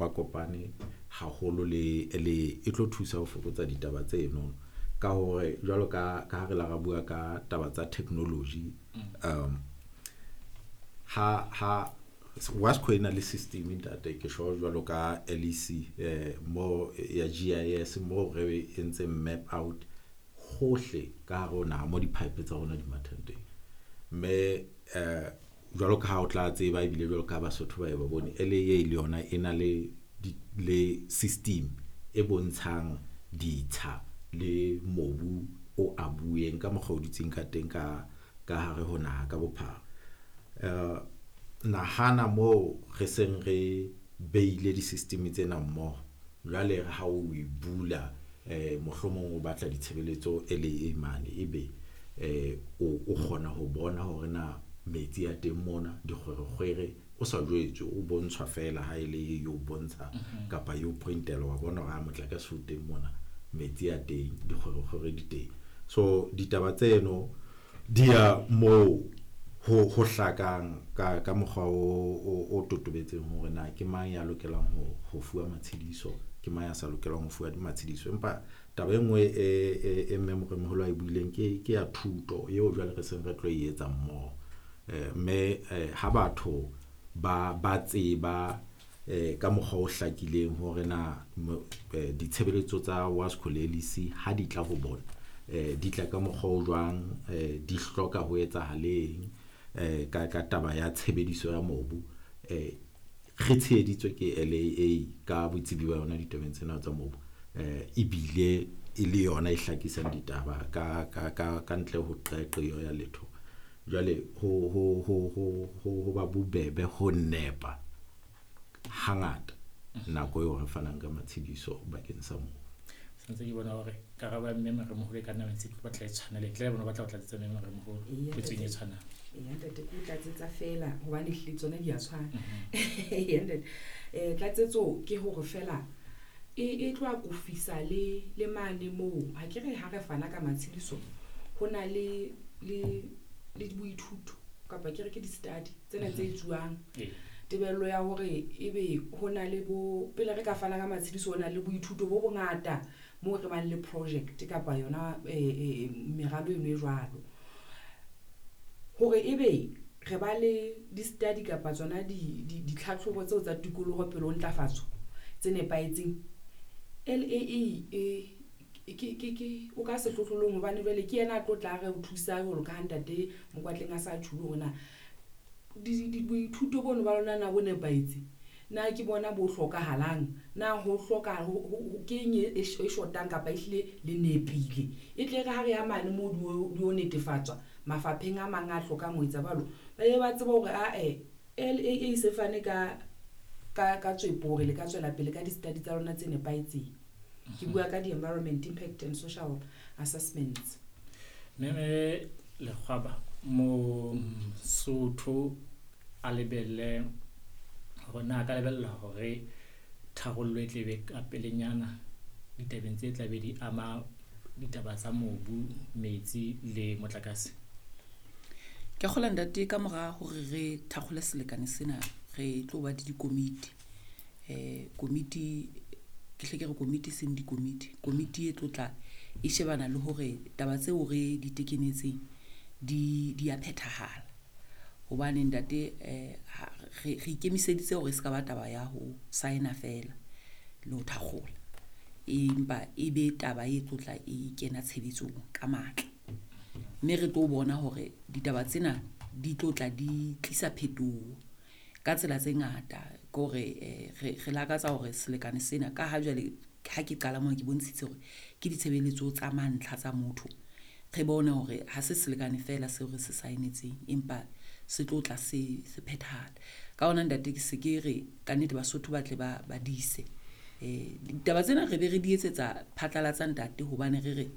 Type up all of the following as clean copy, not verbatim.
kopakopane haholo le le e tlo thusa ho fokotsa ditaba tseno, ka hore jwalo ka ha re la ra bua ka taba tsa technology, ha WASCO e na le system, ntate, ke sure jwalo ka LEC, mo ya GIS, mo re entseng map out hohle ka hare ho naha mo di-pipe tsa rona di mathang teng. Mme jwalo ka ha o tla tseba, ebile jwalo ka ha Basotho ba e ba bone, LAA le yona e na le system e bontshang ditsha le mobu o abueng ka mokgwa o dutseng ka teng ka hare ho naha ka bophara. Nahana mo re seng re beile di-system tsena mmoho, jwale ha o e bula, mohlomong o batla ditshebeletso LAA mane, ebe o kgona ho bona hore na metsi a teng mona, dikgwerekgwere, o sa jwetswe, o bontshwa feela ha ele e o bontsha kapa e o pointela, wa bona hore ha motlakase o teng mona, metsi a teng, dikgwerekgwere di teng. So ditaba tseno di ya moo ho hlakang ka mokgwa o totobetseng hore na ke mang ya lokelang ho fuwa matshidiso, ke mang ya sa lokelang ho fuwa matshidiso. Empa taba e nngwe e mme Moremoholo a e buileng ke ya thuto eo jwale re seng re tlo e etsa mmoho. Mme ha batho ba tseba ka mokgwa o hlakileng hore na ditshebeletso tsa WASCO le LEC ha di tla ho bona, di tla ka mokgwa o jwang, di hloka ho etsahaleng ka taba ya tshebediso ya mobu, re tsheheditswe ke LAA ka botsebi ba yona ditabeng tsena tsa mobu, ebile e le yona e hlakisang ditaba ka ntle ho qeaqeo ya letho, jwale ho ba bobebe ho nepa hangata nako eo re fanang ka matshidiso bakeng sa mobu. Santse ke bona hore karabo ya mme Moremoholo e ka nna ntse ke batla e tshwana le ntle le bona, batla ho tlatsetsa mme Moremoholo potsong e tshwanang. Eya ntate, ke o tlatsetsa fela hobane ehlile tsona di a tshwana. Eya ntate, tlatsetso ke hore fela e tlo akofisa le mane moo ha ke re ha re fana ka matshidiso, ho na le boithuto kapa ke re ke di-study tsena tse etsuwang. Tebello ya hore ebe ho na le bo pele re ka fana ka matshidiso, ho na le boithuto bo bongata moo re bang le project kapa yona meralo eno e jwalo, hore ebe re ba le di-study kapa tsona ditlhatlhobo tseo tsa tikoloho pele ho ntlafatso tse nepahetseng. LAA ke o ka sehlohlolong, hobane jwale ke yena a tlo tla re o thusa jwalo ka ha ntate Mokwatleng a sa tjhulo hore na boithuto bono ba lona na bo nepahetse, na ke bona bo hlokahalang, na ho hloka ke eng e shotang kapa ehlile le nepile. E tle re ha re ya mane moo di o netefatswa mafapheng a mang a hlokang ho etsa jwalo, ba be ba tseba hore ae LAA se fane ka tswepo hore le ka tswela pele ka di-study tsa lona tse nepahetseng. Ke bua ka di-environment impact and social assessments. Mme Lekgwaba, Mosotho a lebelle hore na ka lebella hore tharollo e tle be ka pelenyana ditabeng tse tla be di ama ditaba tsa mobu, metsi le motlakase? Ke kgola ntate, ka mora hore re thakgole selekane sena, re tlo ba le dikomiti. Komiti ke hle ke re komiti, seng dikomiti, komiti e tlo tla e shebana le hore taba tseo re di tekenetseng di a phethahala, hobane ntate, re ikemiseditse hore e se ka ba taba ya ho sign-a fela le ho thakgola, empa e be taba e tlo tla e kena tshebetsong ka matla, mme re tlo bona hore ditaba tsena di tlo tla di tlisa phetoho ka tsela tse ngata. Ke hore re lakatsa hore selekane sena, ka ha jwale ha ke qala mona ke bontshitse hore ke ditshebeletso tsa mantlha tsa motho, re bone hore ha se selekane fela seo re se saenetseng, empa se tlo tla se phethahala. Ka hona ntate, ke se ke re kannete Basotho ba tle ba dise ditaba tsena, re be re di etsetsa phatlalatsa ntate, hobane re re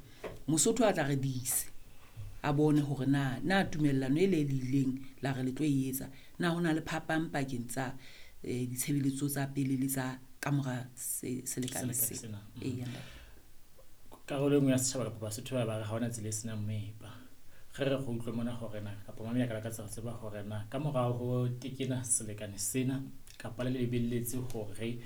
Mosotho a tla re dise a bone hore na tumellano e le le ileng la re le tlo e etsa, na ho na le phapang pakeng tsa ditshebeletso tsa pele le tsa kamora selekane Selekane se sena. Eya ntate. Karolo e nngwe ya setjhaba kapa Basotho ba re ha hona tsela e senang moepa. Re go utlwe mona hore na kapa mame ya ka lakatsa ho tseba hore na ka morao ho tekena selekane sena kapa le lebelletse hore